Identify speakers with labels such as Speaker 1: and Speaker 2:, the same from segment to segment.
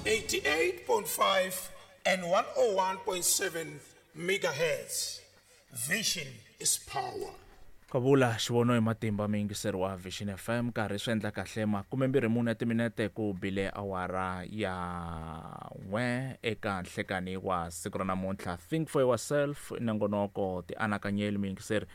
Speaker 1: 88.5 and 101.7 megahertz. Vision is power.
Speaker 2: Kavula xivono hi matimba muyingiseri wa Vision FM nkarhi swi endla kahle makumembirhi mune timinete ku bile awara ya n'we eka nhlekani wa siku ra namuntlha. Think for yourself nongonoko tianakanyeli muyingiseri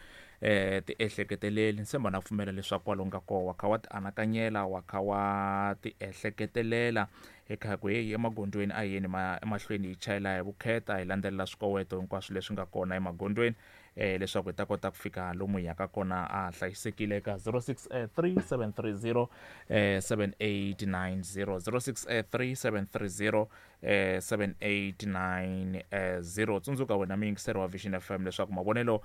Speaker 2: eh ti ehleketeleli ni tshemba na pfumela leswaku kwalomu ka koho wa kha wa ti anakanyela wa kha wa ti ehleketelela hi kha ku heyi emagondzweni a hi yeni ma emahlweni hi chayela hi vukheta hi landzelela swikoweto hinkwaswo leswi nga kona emagondzweni eh leswaku hi ta kota ku fika lomu hi yaka kona a hlayisekile eka 063730 7890 063730 7890. Tsundzuka wena muyingiseri wa Vision FM leswaku mavonelo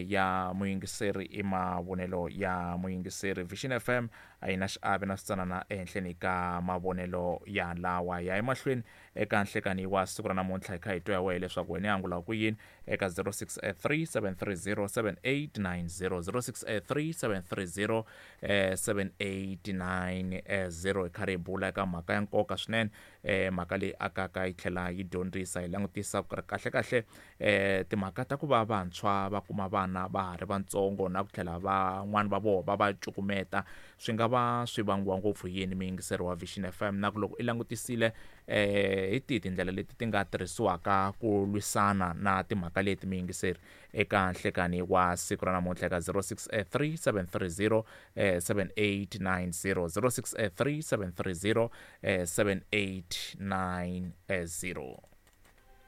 Speaker 2: ya muyingiseri i mavonelo ya muyingiseri. Vision FM a yi na xiave na switsanana ehenhleni ka mavonelo ya lawa ya emahlweni eka nhlekani wa siku ra namuntlha. Hi kha hi twa ya wehe leswaku wena i angula ku yini eka 063730 7890, 063730 7890. Hi karhi hi bula eka mhaka ya nkoka swinene, mhaka leyi akaka yi tlhela yi dyondzisa. Hi langutisa ku ri kahle-kahle timhaka ta ku va vantshwa va kuma vana va ha ri vantsongo na ku tlhela van'wani va vona va va cukumeta swi nga va swi vangiwa ngopfu hi yini, muyingiseri wa Vision FM, na ku loko i langutisile hi tihi tindlela leti ti nga tirhisiwaka ku lwisana na timhaka leti, muyingiseri, eka nhlekani wa siku ra namuntlha eka 063730 7890, 063730 7890.